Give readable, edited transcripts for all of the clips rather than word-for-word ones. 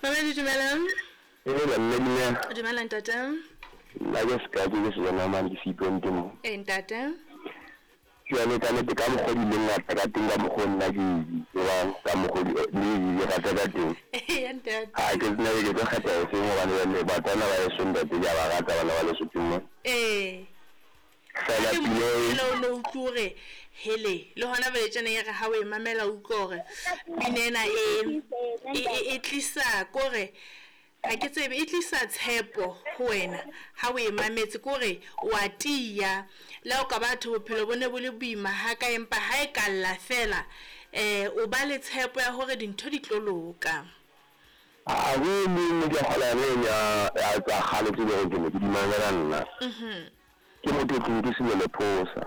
Mamedi dumelang. Ee, mme dumela. Dumela ntate. Nna ke seka ke ke sejana mane ke seipente mo. Ee ntate. Jwale ka nnete ka mokgwa di leng ngata ka teng ka mokgwa nna ke di tsebang ka mokgwa di di rata ka teng. Ee ntate. Ha ke tsena ke tlo kgetha e seng hobane jwale batswana ba heso ntate ke a ba rata bana ba Lesotho mo. Ee. Fela Ke pina e mo o no utlwe hore hele le hona jwale tjena e re ha o e mamela o utlwe hore pina ena e tlisa kore ha ke tsebe e tlisa tshepo ho wena ha o e mametse kore wa tiya le ha o ka batho bophelo bo ne bo le boima ha ka empa ha e ka lla fela o ba le tshepo ya hore dintho di tlo loka. Ha go le ke kgola le ya ya tsa kgale tse leng ke ne ke di mamela nna. Ke motho ke ke Selelo Phosa.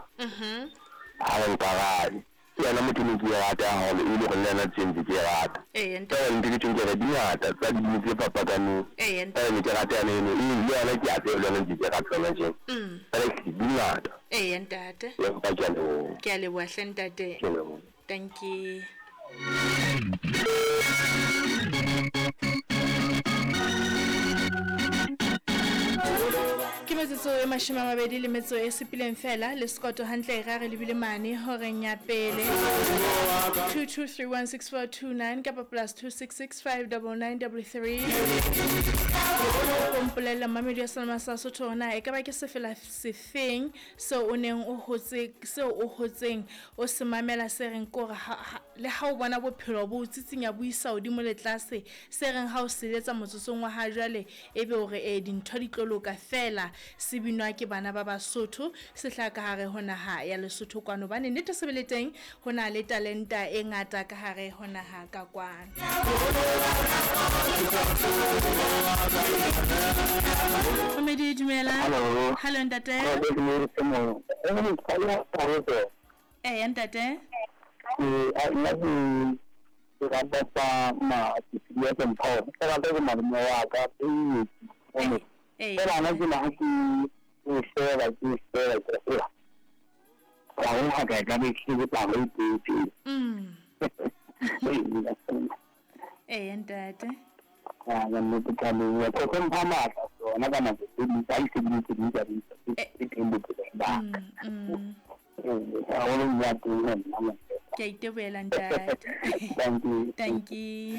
Ha re nkarabe. Ke yena motho ne ke e rata haholo e le gore le yena tse ntse ke e rata. Ee ntate. Fela ntho ke tjho ke re di ngata tsa dibini tse fapakaneng. Ee Fela ne ke rata yane eno e le yona ke a tseba le yona ntse ke rata yona tjena. Fela di ngata. Ee ntate. Empa ke a leboha. Ke a leboha hle ntate. Ke a leboha. Thank you. Ke metsotso e 27 fela le sekoto hantle ra re lebile mane horeng ya pele 22316429 kapa plus 26659933 o mpolella mamedi ya Salma sa Sotho hore na e ka ba ke sefela sefeng seo o neng o hotse seo o hotseng o se mamela se reng kore le ha o bona bophelo bo o tsitsinya bo isa hodimo le tlase se reng ha o seletsa motsotsong wa ha jwale ebe hore e dintho di tlo loka fela se binwa ke bana ba Basotho se hlaha ka hare ho naha ya Lesotho kwano hobane nnete se bele teng ho na le talenta e ngata ka hare ho naha ka kwano. Mamedi dumela. Hello. Hello ntate. Ee ntate. Ke rata tsa ma ya Mpho. Ke rata ke malome wa ka e. Ee. Fela nna ke na ke sheba ke sheba ke ela. Ka ho ha ka ka be ke tla ho itse. Ee ntate. Ya nne ke tla le ko ko mpha matla tsona ka nako tse ding tsa itse di tsa di tse teng bophelong ba ka. Haholo ya teng nna. Ke a itebohela ntate. Thank you. Thank you.